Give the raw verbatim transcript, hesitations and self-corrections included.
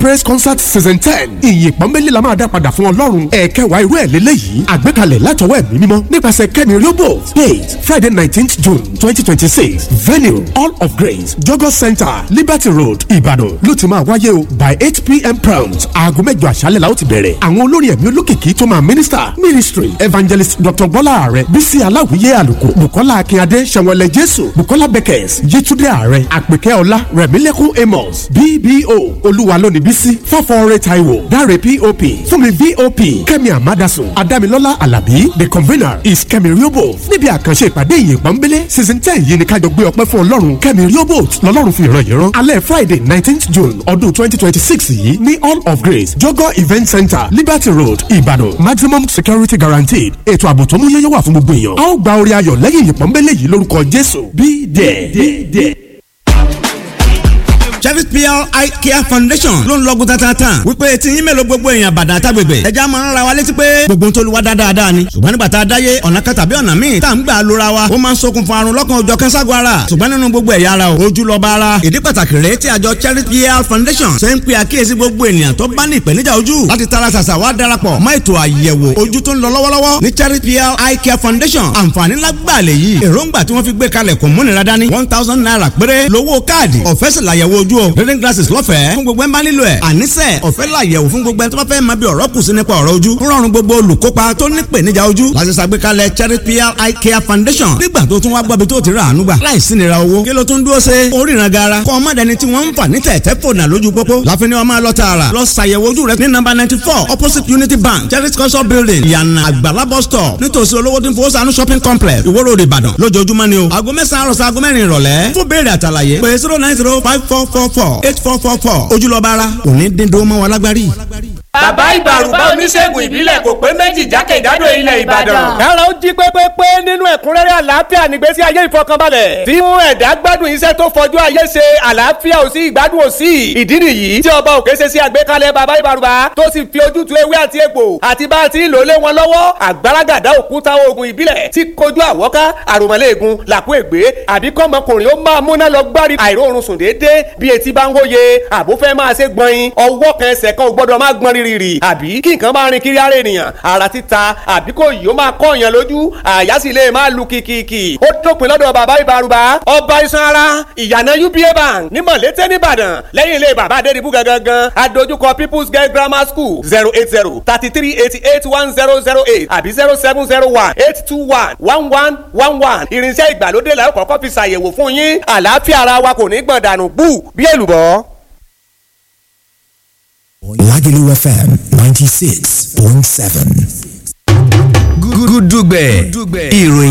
Praise Concert Season ten. Ìyìn pọ́nbélé la máa dá padà fún Ọlọ́run. Ẹ̀kẹwàá irú ẹ̀ lélẹ́yìí. Àgbékalẹ̀ látọwọ́ ẹ̀mí mímọ́ nípasẹ̀ Kẹ́mi Riobo. Date Friday nineteenth June twenty twenty six. Venue All of Grace Jogo Center Liberty Road Ìbàdàn ló ti máa wáyé o by eight pm prompt. Aago mẹ́jọ àṣálẹ̀ la ó ti bẹ̀rẹ̀. Àwọn olórin ẹ̀mí olókìkí tó máa minister ministry evangelist Dr. Bọ́lá Ààrẹ Bísí Aláwìyé Àlùkò Bùkọ́lá Akínyadé Ṣẹ̀wọ̀lẹ̀ Jésù Bùkọ́lá Beckers Yétúndé Ààrẹ Àpèkẹ́ Ọlá Rẹ̀mílẹ́kún Amos B B O Olúwa lónìí Bísí Fọ́fọ́ọ́rẹ́ Táíwò Dáre P O P Fúnmi V O P Kẹ́mi Amadasun Adámilọ́lá Àlàbí The convener is Kẹ́mi Riobo. Níbi àkànṣe ìpàdé ìyè pọ́nbélé season ten yìí ni kájọ gbé ọpẹ́ fún Ọlọ́run. Kẹ́mi Riobo lọ́lọ́run fi ìran yìí rán. Alẹ́ Friday nineteenth June ọdún twenty twenty six yìí ní All of Grace Jogo Event Center Liberty Road Ìbàdàn. Maximum security guaranteed. Ètò ààbò tó múyẹ́yẹ́ wà fún gbogbo èèyàn. A ó gba orí ayọ̀ lẹ́yìn ìpọ́nbélé yìí lórúkọ Jésù. Be there. Chevy P L Eye Care Foundation ló ń lọ́gùn tatata wípé tí yín mélòó gbogbo èèyàn bàdà tágbègbè ẹja máa ń ra wa létí pé gbogbo tó lu wa dáadáa ni ṣùgbọ́n nígbà tá a dáyé ọ̀nà kan tàbí ọ̀nà míì tá à ń gbà lóra wa ó máa ń ṣokùnfà àrùn lọ́kàn òjọ̀ kẹ́sàgọ́ ara ṣùgbọ́n nínú gbogbo ẹ̀yà ara o ojú lọ́ba ara ìdí pàtàkì rèé tí àjọ Chevy P L Foundation ṣe ń pe àkíyèsí gbogbo ènìyàn tó bá ní ìpèníjà ojú láti tara ṣàṣà wá darapọ̀ mọ́ ètò àyẹ̀wò ojú tó ń lọ lọ́wọ́lọ́wọ́ ní Chevy P L Eye Care Foundation. Àǹfààní lágbàá lè yí èròǹgbà tí wọ́n fi gbé kalẹ̀ kò múnira dání one thousand naira péré lówó káàdì ọ̀fẹ́ sì làyẹ̀wò ojú o reading glasses lọ́fẹ̀ẹ́ fún gbogbo ẹ̀ ń bá nílò ẹ̀ àníṣe ọ̀fẹ́ làyẹ̀wò fún gbogbo ẹ̀ tó bá fẹ́ máa bí ọ̀rọ̀ kù sí nípa ọ̀rọ̀ ojú ń rọrùn gbogbo olùkópa tó ní ìpèníjà ojú láti ṣàgbékalẹ̀ Charity P L Eye Care Foundation nígbà tó tún wá gbọ́bi tó ti rà àánú gbà láìsí nira owó kí ló tún dúró ṣe oríran gara kọ́ ọmọdéni tí wọ́n ń fà ní tẹ̀tẹ̀ fònà lójú pópó láfi ni wọ́n máa lọ tààrà lọ ṣàyẹ̀wò ojú rẹ ní nọ́mbà ninety four opposite Unity Bank Charity Culture Building ìyànà àgbàlá bus stop nítòsí olówó tí ń fowó sànú shopping complex Ìwó Road Ìbàdàn lójoojúmọ́ ni o aago mẹ́sàn-án àròsọ aago mẹ́rin ìrọ̀lẹ́ fún béèrè àtàlàyé pé zero nine zero five four four four eight four four four ojúlọ́ba ara òní dín dúró mọ́ wa lágbárí. Bàbá ìbàrùbá oníṣègùn ìbílẹ̀ kò pé méjì jákèjádò ilẹ̀ Ìbàdàn. Kára ó jí pépépé nínú ẹ̀kúnrẹ́rẹ́ àlàáfíà nígbésí ayé ìfọkànbalẹ̀. Tí mú ẹ̀dá gbádùn iṣẹ́ tó fọjú ayé ṣe àlàáfíà ò sí ìgbádùn ò sí. Ìdí nìyí tí ọba òkè ṣe sí àgbékalẹ̀ bàbá ìbàrùbá tó sì fi ojútùú ewé àti egbò àti bá a ti ń lò lé wọn lọ́wọ́. Àgbàràgàdá òkúta oògùn ìbílẹ̀ tí kojú àwọ́ká àròmọ̀lẹ́ẹ̀gùn làkú ègbé àbí kọ́mọkùnrin ó máa múná lọ gbárí àìróorun sùn déédéé bí etí bá ń hóye àbúfẹ́ máa ṣe gbọ̀nyin ọwọ́ kan ẹsẹ̀ kan ò gbọ́dọ̀ má gbọ́n rírì àbí kí nǹkan máa rin kiri ara ènìyàn ara títa àbí kò yìí ó máa kọ́ èèyàn lójú àyà sì lè máa lu kìkìkì ó dópin lọ́dọ̀ bàbá ìbárúbá ọba iṣan ara ìyànà U B A Bank ní Mọ̀lété nìbàdàn lẹ́yìn ilé bàbá Adédìbú gangan adójúkọ People's Girl Grammar School zero eight zero thirty three eighty eight one zero zero eight àbí zero seven zero one eight two one one one one one irinṣẹ́ ìgbàlódé la ó kọ́kọ́ fi ṣàyẹ̀wò fún yín àlàáfíà ara wa kò ní gbọ̀n dànù bú bí èlùbọ́. Lagelu F M ninety-six point seven. Gúdúgbẹ̀ ìròyìn.